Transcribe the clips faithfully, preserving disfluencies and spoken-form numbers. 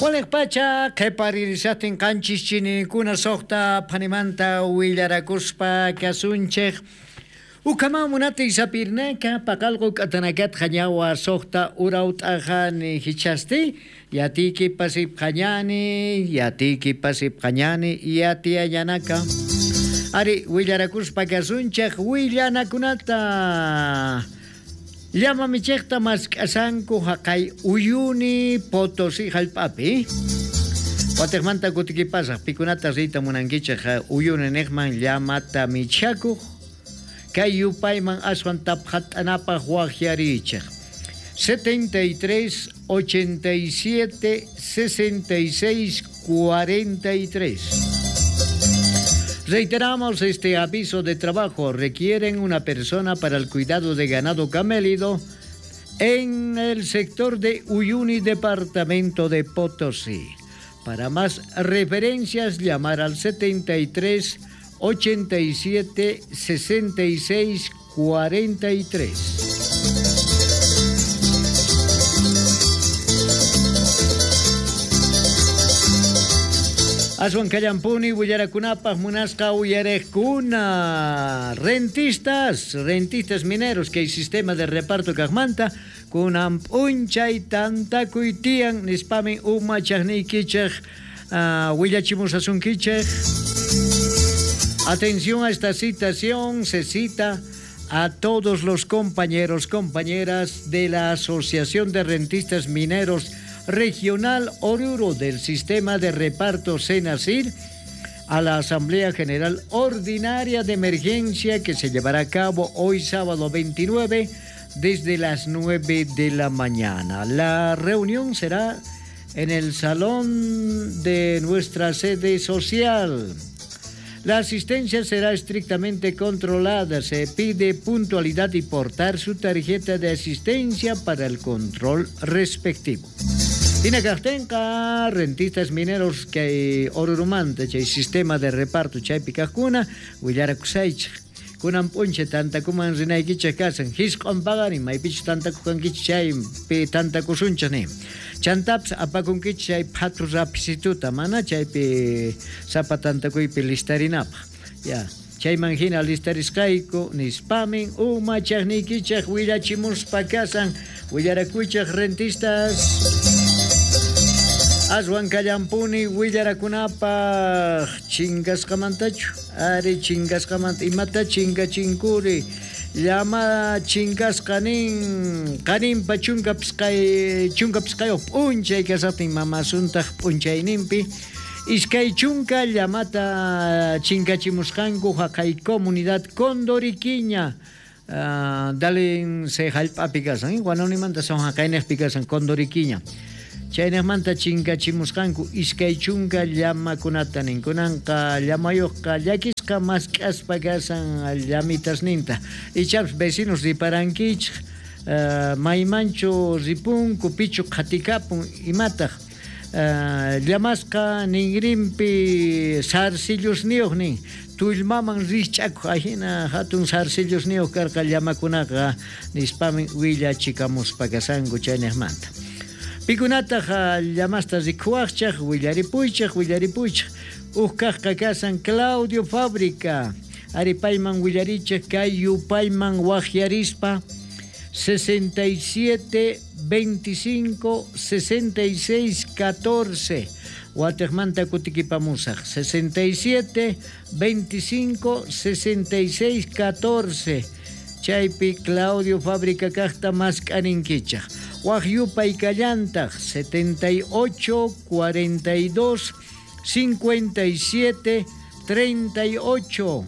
Waliqpacha qhiparirishaqtin qanchis chinikuna suqta phanimanta willarakuspa kasunchik. Ukaman munati sapirnaka paqalqu k'atanakat qañawa suqta urawt'aqani hichasti yatiki pasip qañani yatiki pasip qañani yatiayanaka. Ari willarakuspa kasunchik willanakunata. Llama michejta mask'asanku haqay Uyuni Potosí hallp'api. Watejmanta kutikipasaq pikunata riyta munankichej Uyuni niqman llamata michakuq kay yupayman aswan taphat'anapaq waqyarichej. setenta y tres, ochenta y siete, sesenta y seis, cuarenta y tres. Reiteramos este aviso de trabajo. Requieren una persona para el cuidado de ganado camélido en el sector de Uyuni, departamento de Potosí. Para más referencias, llamar al setenta y tres, ochenta y siete, sesenta y seis, cuarenta y tres. Aswan kallampuni willarakunapaq munasqa uyarejkuna rentistas, rentistas mineros que el sistema de reparto kaqmanta kunan p'unchay tantakuy tiyan nispamin umachaqniykichej uh, willachimusasunkichej. Atención a esta citación, se cita a todos los compañeros, compañeras de la Asociación de Rentistas Mineros Regional Oruro del Sistema de Reparto Senasir a la Asamblea General Ordinaria de Emergencia que se llevará a cabo hoy sábado veintinueve desde las nueve de la mañana. La reunión será en el salón de nuestra sede social. La asistencia será estrictamente controlada. Se pide puntualidad y portar su tarjeta de asistencia para el control respectivo. Tinakaqtinqa rentistas mineros kay Orurumanta chay sistema de reparto chaypi kaqkuna willarakusaychik. Kunan p'unchay tantakuman rinaykichik kasan hisq'un paqarin maypichus tantakukankichik chaypi tantakusunchik nin. Chantapis apakunkichik chay phatu rapisituta mana chaypi sapa tantakuypi listarinapaq. Ya. Chayman hina listarisqayku nispamin umachaqniykichik willachimuspa kasan willarakuychik rentistas. Aswan kallampuni willarakunapaq chingasqamantachu ari chingasqamanta imata chingachinkuri llama chinkasqa nin qaninpa chunka pisqay chunka pisqayuq p'unchay kasaqtin mamasuntaq p'unchayninpi iskay chunka llamata chinkachimusqanku haqay comunidad Condoriquiña. Uh, dalen se hallp'api kasan Guanonimanta son haqaynejpi kasan Condoriquiña. Chaynejmanta chinkachimusqanku iskay chunka llamakunata nin kunanqa llamayuqqa llakisqa mask'aspa kasan llamitasninta ichapas vecinos riparankichik uh, maymanchu ripunku pichu qhatikapun imataq uh, llamasqa ninrinpi sarcillusniyuq nin tullmaman rich'akuq ahina hatun sarcillusniyuq karqa llamakunaqa nispamin willachikamuspa kasanku chaynejmanta. Pikunataq llamasta rikuwaqchaq willaripuychaq willaripuychaq uj kaqqa kasan Claudio Fábrica ari payman willarichaq kay yupayman waqyarispa sesenta y siete, veinticinco, sesenta y seis, catorce Watejmanta kutikipamusaq sesenta y siete, veinticinco, sesenta y seis, catorce Chaypi Claudio Fábrica kaqta mask'aninkichaq. Waq yupay kallantaq setenta y ocho, cuarenta y dos, cincuenta y siete, treinta y ocho.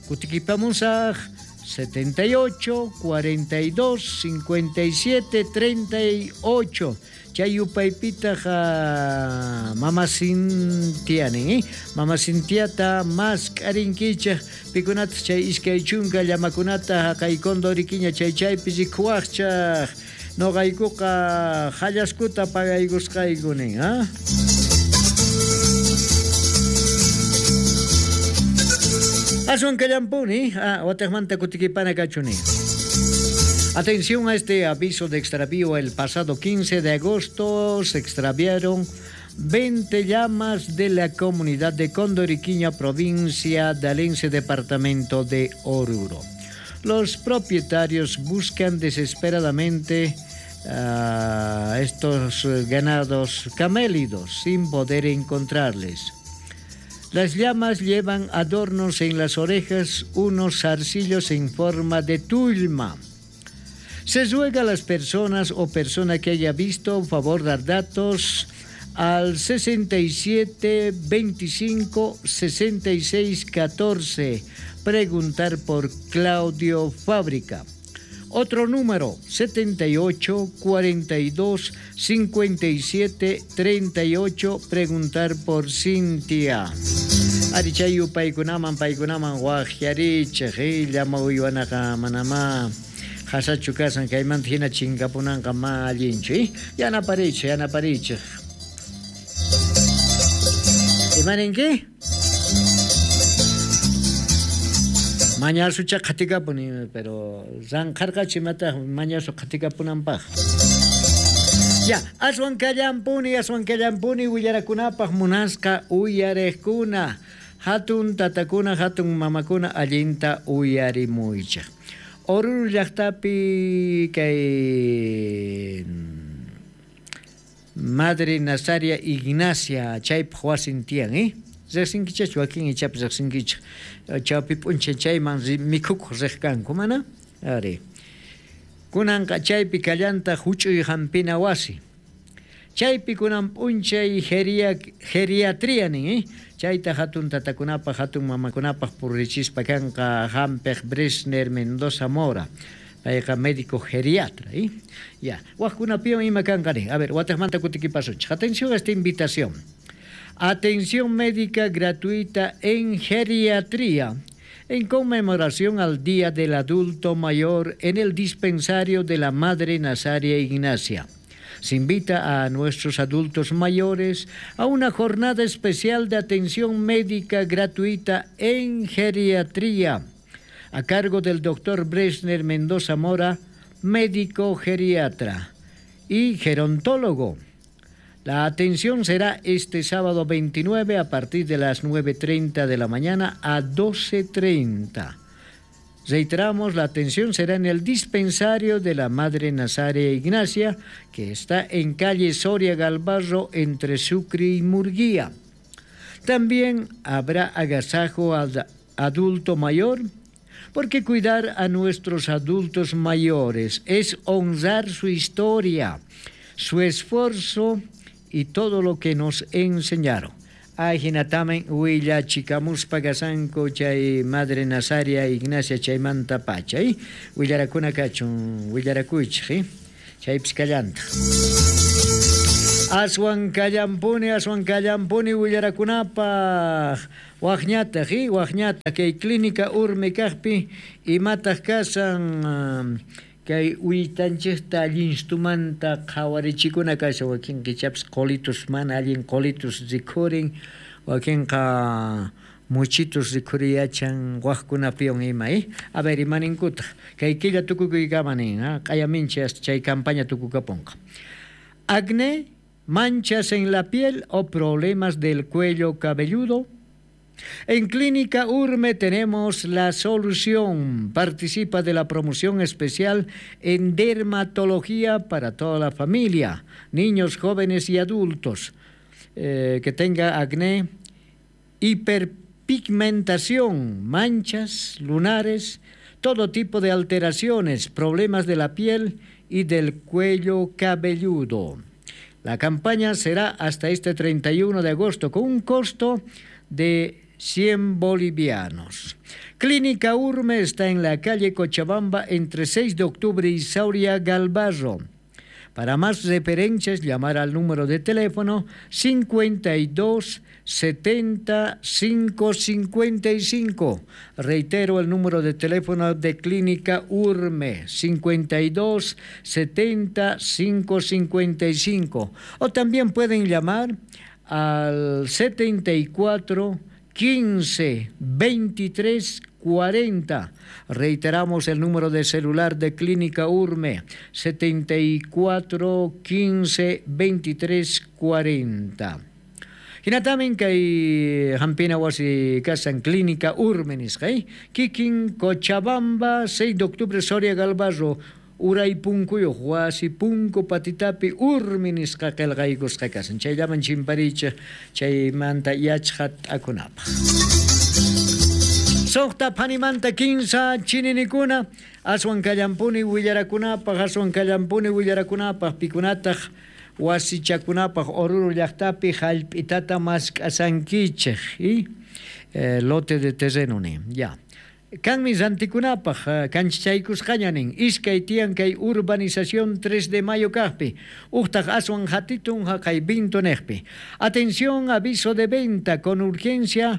Kutikipamusaq setenta y ocho, cuarenta y dos, cincuenta y siete, treinta y ocho. Chay yupaypitaq Mama Cintia nin, eh? Mama Cintiata mask'arinkichaq pikunata chay iskay chunka llamakunata haqay Condoriquiña chay chaypi rikuwaqchaq noqaykuqa hallaskuta pagaykusqayku nin, ah? Aswan kallampuni, ah, watejmanta kutikipana kachuni. Atención a este aviso de extravío. El pasado quince de agosto se extraviaron veinte llamas de la comunidad de Condoriquiña, provincia de Alense, departamento de Oruro. Los propietarios buscan desesperadamente a estos ganados camélidos sin poder encontrarles. Las llamas llevan adornos en las orejas, unos zarcillos en forma de tulma. Se ruega a las personas o persona que haya visto, favor dar datos al sesenta y siete veinticinco sesenta y seis catorce. Preguntar por Claudio Fábrica. Otro número, setenta y ocho cuarenta y dos cincuenta y siete treinta y ocho, preguntar por Cintia. Arichayu paykunaman paykunaman waqyarichej, llama uywanaqa manamá hasachu kasan kaymanta hina chinkapunanqa ma allinchu, eh? Yanaparichej, yanaparichej. Imaninki? Mañasucha qhatikapuni, pero ranqharqachu imataq mañasu qhatikapunanpaq. Ya, aswan kallampuni, aswan kallampuni willarakunapaq munasqa uyariqkuna, hatun tatakuna, hatun mamakuna allinta uyarimuychaq. Oruro llaqtapi kay Madre Nazaria Ignacia chaypaq wasin tiyan, eh? Riqsinkichaqchu wakin ichapas riqsinkichaq. Chawpi p'unchay chayman mikhukuq riq kanku, mana? Ari. Kunanqa chaypi kallanta huch'uy hampina wasi. Chaypi kunan p'unchay geriatria nin, eh? Chayta hatun tatakunapaq, hatun mamakunapaq purrichispa kanqa hampiq Bresner Mendoza Mora. Payqa médico geriatra, eh? Ya, waqkunapiwan ima kanqa nin. A ver, wataqmanta kutikipasunchik. Atención a esta invitación. Atención médica gratuita en geriatría, en conmemoración al Día del Adulto Mayor en el dispensario de la Madre Nazaria Ignacia. Se invita a nuestros adultos mayores a una jornada especial de atención médica gratuita en geriatría, a cargo del doctor Bresner Mendoza Mora, médico geriatra y gerontólogo. La atención será este sábado veintinueve a partir de las nueve treinta de la mañana a doce treinta. Reiteramos, la atención será en el dispensario de la Madre Nazaria Ignacia, que está en calle Soria Galvarro, entre Sucre y Murguía. También habrá agasajo al adulto mayor, porque cuidar a nuestros adultos mayores es honrar su historia, su esfuerzo y todo lo que nos enseñaron. Ay, hinatamen huilla chikamuspa gasanko chay Madre Nazaria Ignacia chaymanta pacha, ¿eh? Willarakuna kachun, willarakuychik, ¿eh? Chaypis kallanta. Aswan kallampuni, aswan kallampuni willarakunapaq. Waqñataq, ¿eh? Waqñataq kay clínica Urme kaqpi imataq kasan kay uytanchikta allinstumanta qhawarichikuna kashan, wakin kichapas qolitus mana allin qolitus rikhurin, wakinqa muchitus rikhuriyachan waqkunapiwan ima, eh? A ver, imaninkutaq kay killa tukukuykama nin, ah, q'ayaminchi hasta chay campaña tukukapunqa. Acné, manchas en la piel o problemas del cuello cabelludo. En Clínica Urme tenemos la solución. Participa de la promoción especial en dermatología para toda la familia, niños, jóvenes y adultos, eh, que tenga acné, hiperpigmentación, manchas, lunares, todo tipo de alteraciones, problemas de la piel y del cuello cabelludo. La campaña será hasta este treinta y uno de agosto con un costo de cien bolivianos. Clínica Urme está en la calle Cochabamba entre seis de octubre y Sauria Galvarro. Para más referencias, llamar al número de teléfono cincuenta y dos setenta cinco cincuenta y cinco. Reitero el número de teléfono de Clínica Urme, cincuenta y dos setenta cinco cincuenta y cinco. O también pueden llamar al setenta y cuatro quince veintitrés cuarenta. Reiteramos el número de celular de Clínica Urme, setenta y cuatro quince veintitrés cuarenta. Hinatamin kay hampina wasi kasan clínica Urme nisqa, eh? Kikin Cochabamba, seis de octubre, Soria Galvarro, uray punkuyuq wasi punku patitapi Urmi nisqa qillqaykusqa kasan. Chayllaman chimparichej chaymanta yachqat'akunapaq. Suqta phanimanta kinsa chininikuna aswan kallampuni willarakunapaq, aswan kallampuni willarakunapaq pikunataq wasichakunapaq Oruro llaqtapi hallp'itata mask'asankichej, ¿eh? Eh, lote de terreno nin, ya. Kanmi rantikunapaq kanchachaykusqaña nin, iskay tiyan kay urbanización tres de mayo kaqpi, uqtaq aswan hatitun haqay vinto neqpi. Atención, aviso de venta con urgencia,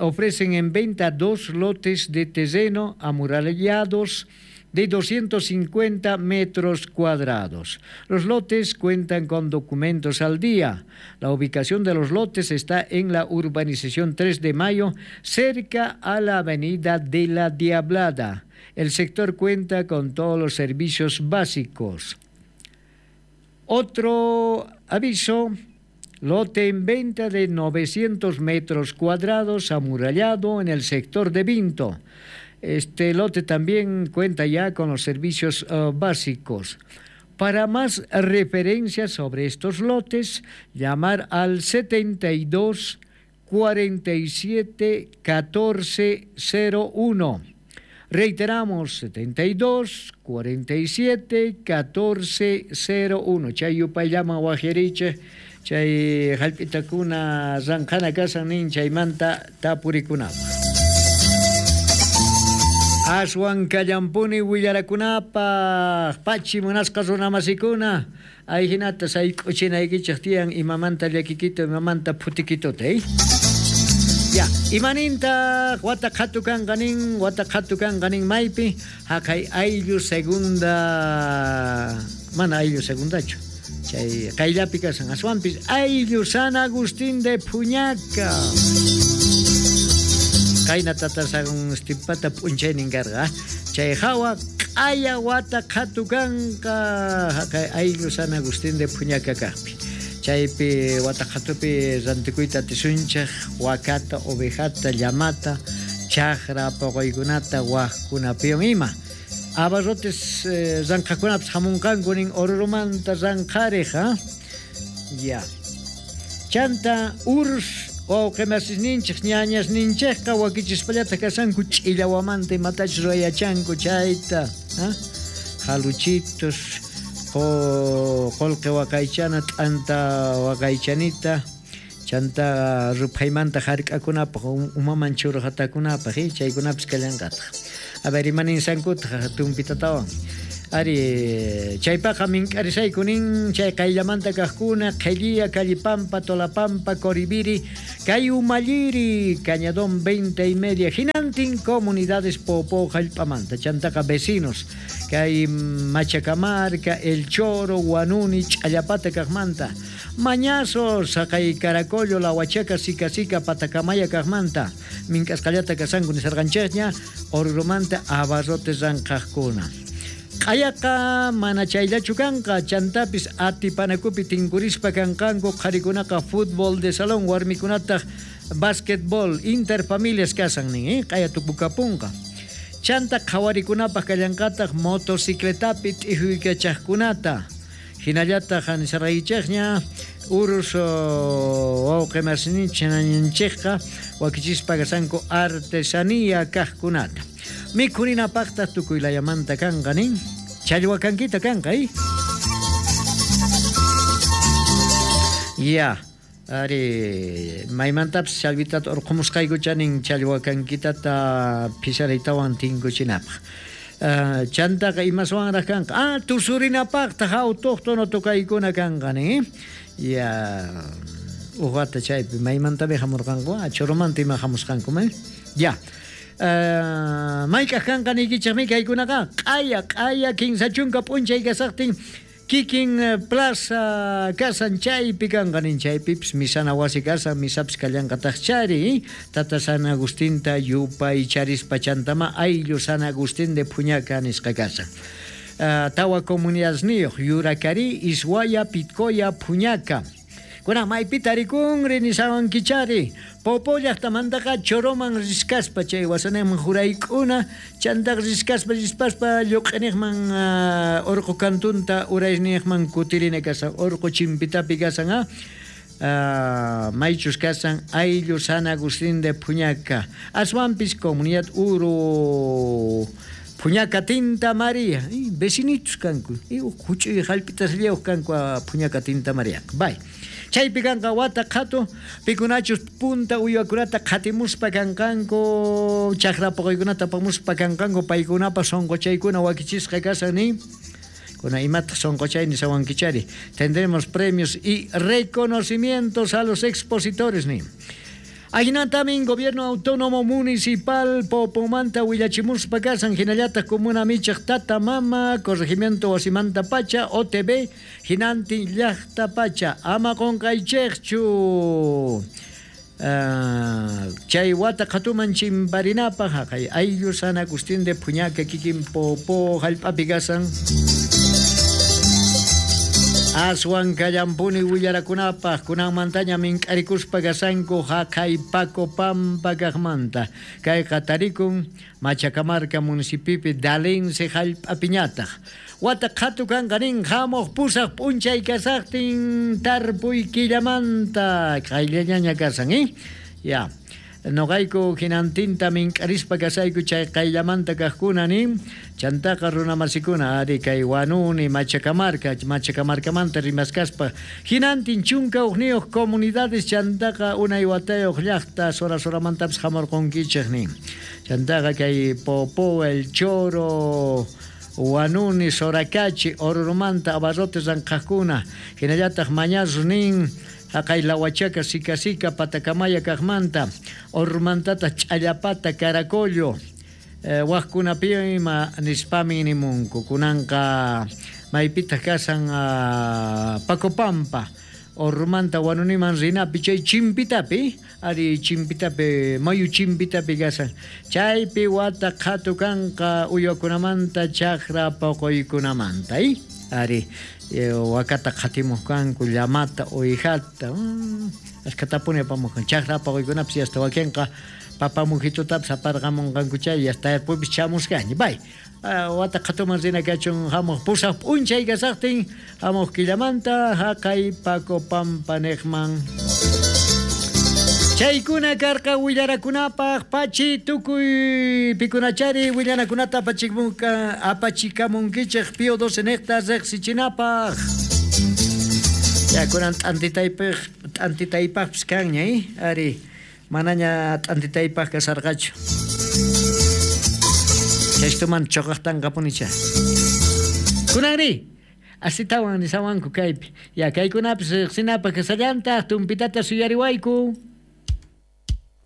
ofrecen en venta dos lotes de terreno amurallados de doscientos cincuenta metros cuadrados. Los lotes cuentan con documentos al día. La ubicación de los lotes está en la urbanización tres de mayo, cerca a la avenida de la Diablada. El sector cuenta con todos los servicios básicos. Otro aviso, lote en venta de novecientos metros cuadrados amurallado en el sector de Vinto. Este lote también cuenta ya con los servicios uh, básicos. Para más referencias sobre estos lotes, llamar al setenta y dos cuarenta y siete catorce cero uno. Reiteramos, setenta y dos cuarenta y siete catorce cero uno. Chay yupayllama wajeriche, chay hallp'itakuna ranqhana kasan nin chaymanta tapurikunapaq. Aswan kallampuni willarakunapaq pachi munasqa runamasikuna ayhinata sayk'uchinaykichej tiyan imamanta llakikito imamanta phutikitota, eh? Ya, imaninta wata qhatu kanqa nin, wata qhatu kanqa nin maypi haqay ayllu segunda, mana ayllu segundachu, chay qayllapi kasan aswanpis ayllu San Agustín de Puñaca. Qayna tatasagun stipata p'unchaynin karqa, chay hawa q'aya wata qhatu kanqa haqay ayllu San Agustín de Puñaca kaqpi. Chaypi wata qhatupi rantikuyta atisunchej wakata, ovejata, llamata, chaqra poqoykunata waqkunapiwan ima. Abarrotes eh, ranqhakunapis hamunqanku nin Orurumanta ranqharej, ha? Ya. Chanta urs wawqimasisninchej ñañasninchejqa wakichispallata kasanku ch'illawamanta imatachus ruwayachanku chayta, ha? Jaluchitos, qolqe waqaychana, t'anta waqaychanita, chanta ruphaymanta hark'akunapaq, umaman churqatakunapaq, eh? Chaykunapis kallanqataq. A ver, imaninsankutaq tumpitatawan. Ari, chaypaqa mink'arisayku nin, chay qayllamanta kaqkuna, Qhellía, Callipampa, Tolapampa, Coribiri, kay Umalliri, Cañadón veinte y media, hinantin comunidades Popó hallp'amanta, chantaqa vecinos, kay Machacamarca, El Choro, Huanuni, Ch'allapata kaqmanta, Mañazos, haqay Caracollo, La Huachaca, Sica Sica, Patacamaya kaqmanta, mink'asqallata kasanku nisarqanchikña, Orurumanta abarrotes ranqaqkuna. Q'ayaqa mana chayllachu kanqa, chantapis atipanakupi tinkurispa kanqanku qharikunaqa fútbol de salón, warmikunataq básquetbol, interfamilias kasan nin, eh? Q'aya tukukapunqa. Chanta qhawarikunapaq kallanqataq motocicletapi t'ijuykachaqkunata. Hinallataq nisarqaykichikña urus wawqimasninchikqa wakichispa kasanku artesanía kaqkunata. Mikhurinapaqtaq tukuylayamanta kanqa nin, challwakankita kanqa, eh? Ya, ari maymantapis challwitata urqumusqaykucha nin challwakankitata phisaraytawan tinkuchinapaq. Uh, chantaqa imaswanraq kanqa, ah, tusurinapaqtaq autóctono tukaykuna kanqa nin, ya, uqata chaypi maymantapi hamurqanku, ah, Choromanta ima hamusqanku, eh? Ya. Uh, mayk'aq kanqa niykichikmi kaykunaqa q'aya q'aya kinsa chunka p'unchay kasaqtin kikin plaza kasan chaypi kanqa nin, chaypipis misana wasi kasan, misapis kallanqataq chari, Tata San Agustinta yupaycharispa chantama ayllu San Agustín de Puñaca nisqa kasan. Uh, tawa comunidadesniyuq Yuracari, Ishuaya, Pitcoya, Puñaca. Kuna maypita rikunri nisawankichari. Popo llaqtamantaqa Choroman riskaspa chay wasanejman jurayk'una chantaq riskaspa rispaspa lluq'inejman uh, urqu kantunta uraynejman kutirina kasan urqu chimpitapi kasan ah. Uh, maychus kasan ayllu San Agustín de Puñaca aswanpis comunidad Uru Puñaca Tinta María, vecinitos kanku, huch'uy hallp'itas llayuq kanku Puñaca Tinta María. Bay. Chaypi kanqa wata qhatu, pikunachus punta uywakunata qhatimuspa kanqanku, chakra poqoykunata apamuspa kanqanku, paykunapa sonqochaykuna wakichisqa kasan ni. Kuna imataq sonqochay nisawankichari. Tendremos premios y reconocimientos a los expositores ni. Ajinatamin gobierno autónomo municipal Popomanta willachimuspa kasan hinallataq comuna michaq tata mama corregimiento wasimanta pacha O T B hinantin llaqta pacha ama qonqaychikchu uh, chay wata qhatuman chimparinapaq haqay ayllu San Agustín de Puñaca kikin Popo hallp'api kasan aswan kallampuni willarakunapaq kunanmantaña mink'arikuspa kasanku haqay Paco Pampa kaqmanta kayqa tarikun Machacamarca municipipi Dalense hallp'apiñataq wata qhatu kanqa nin hamuq pusaq p'unchay kasaqtin tarpuy killamanta qayllañaña kasan eh ya noqayku hinantinta mink'arispa kasayku chay qayllamanta kaqkuna nin chantaqa runamasikuna ari kay Wanuni Machacamarca Machacamarcamanta rimaskaspa hinantin chunka hukniyuq comunidades chantaqa unay watayuq llaqta sora soramantapis hamurqunkichik nin chantaqa kay Popo El Choro Wanuni Soracachi Orurumanta abarrotes ranqaqkuna hinallataq mañazus nin haqay Lahuachaca, Sica Sica, Patacamaya kaqmanta, Ormantata, Ch'allapata, Caracollo, eh, waqkunapi ima nispami nimunku, kunanqa maypitaq kasan uh, Pacopampa, Ormanta Wanuniman rinapi chay chimpitapi, ari chimpitapi, mayu chimpitapi kasan, chaypi wata qhatu kanqa uywakunamanta chakra poqoykunamanta, eh? Ari wakata qhatimuq kanku llamata uwijata ashkatapuni apamuq chakra poqoykunapis hasta wakinqa papamujitutapis aparqamunqanku chay hasta yarpuypis chamusqaña bay wata qhatuman rina kachun hamuq pusaq p'unchay kasaqtin hamuq killamanta haqay Paco Pampa niqman chaykuna karqa willarakunapaq pachi tukuy pikunachari willanakunata apachimunka apachikamunkichik Pío doce niqta riqsichinapaq ya kunan t'antitaypaq t'antitaypaqpis kanña eh ari manaña t'antitaypaq kasarqachu chaystuman choqaqtanqapunicha kunanri asitawan nisawanku kaypi ya kaykunapis riqsinapaq kasallantaq tumpitata suyariwayku.